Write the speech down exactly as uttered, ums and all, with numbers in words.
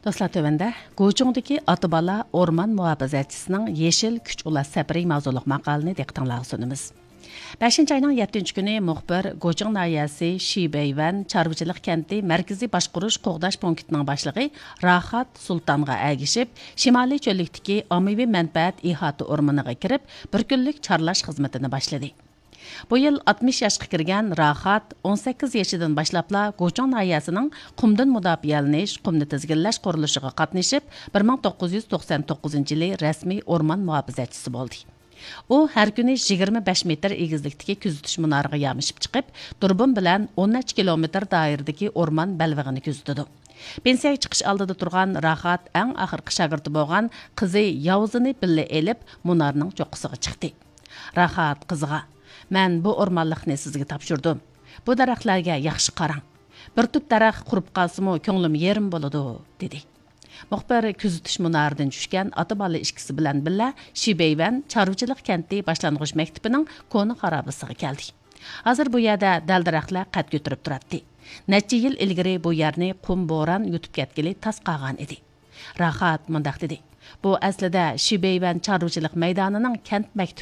دوستلار، تۆۋەندە گۇچۇڭدىكى ئاتا-بالا ئورمان مۇھاپىزەتچىسىنىڭ يېشىل كۈچ ئۇلاش سەپىرى ماۋزۇلۇق ماقالىنى دىققىتىڭلارغا سۇنىمىز. بەشىنچى ئاينىڭ يەتتىنچى كۈنى مۇخبىر گۇچۇڭ ناھىيەسى شىبەيۋەن چارۋىچىلىق كەنتى مەركىزىي باشقۇرۇش قوغداش پونكىتىنىڭ باشلىقى راخات سۇلتانغا ئەگىشىپ، شىمالىي چۆللۈكتىكى ئاممىۋى مەنپەئەت ئىھاتە ئورمىنىغا كىرىپ، بىر كۈنلۈك چارلاش خىزمىتىنى باشلىدى. بۇ يىل ئاتمىش ياشقا كىرگەن راخات ئون سەككىز يېشىدىن باشلاپلا گۇچۇڭ ناھىيەسىنىڭ قۇمدىن مۇداپىئەلىنىش، قۇمنى تىزگىنلەش قۇرۇلۇشىغا قاتنىشىپ، بىر مىڭ توققۇز يۈز توقسەن توققۇزىنچى يىلى رەسمىي ئورمان مۇھاپىزەتچىسى بولدى. ئۇ ھەر كۈنى يىگىرمە بەش مېتىر ئېگىزلىكتىكى كۆزىتىش مۇنارىغا يامىشىپ چىقىپ، دۇربۇن بىلەن ئون نەچچە كىلومېتىر دائىرىدىكى ئورمان بەلبېغىنى كۆزىتىدۇ. پېنسىيەگە چىقىش ئالدىدا تۇرغان راخات ئەڭ ئاخىرقى شاگىرتى بولغان قىزى ياۋزىنى بىللە ئېلىپ، مۇنارنىڭ چوققىسىغا چىقتى. راخات قىزىغا، «مەن بۇ ئورمانلىقنى سىزگە تاپشۇردۇم. بۇ دەرەخلەرگە ياخشى قاراڭ. بىر تۈپ دەرەخ قۇرۇپ قالسىمۇ، كۆڭلۈم يېرىم بولىدۇ» دېدى. مۇخبىر كۆزىتىش مۇنارىدىن چۈشكەن ئاتا-بالا ئىككىسى بىلەن بىللە شىبەيۋەن چارۋىچىلىق كەنتى باشلانغۇچ مەكتىپىنىڭ كونا خارابىسىغا كەلدى. ھازىر بۇ يەردە دەل-دەرەخلەر قەد كۆتۈرۈپ تۇراتتى. نەچچە يىل ئىلگىرى بۇ يەرنى قۇم بوران يۇتۇپ كەتكىلى تاس قالغان ئىدى. راخات مۇنداق دېدى، «بۇ ئەسلىدە شىبەيۋەن چارۋىچىلىق مەيدانىنىڭ كەنت مەكتىپى.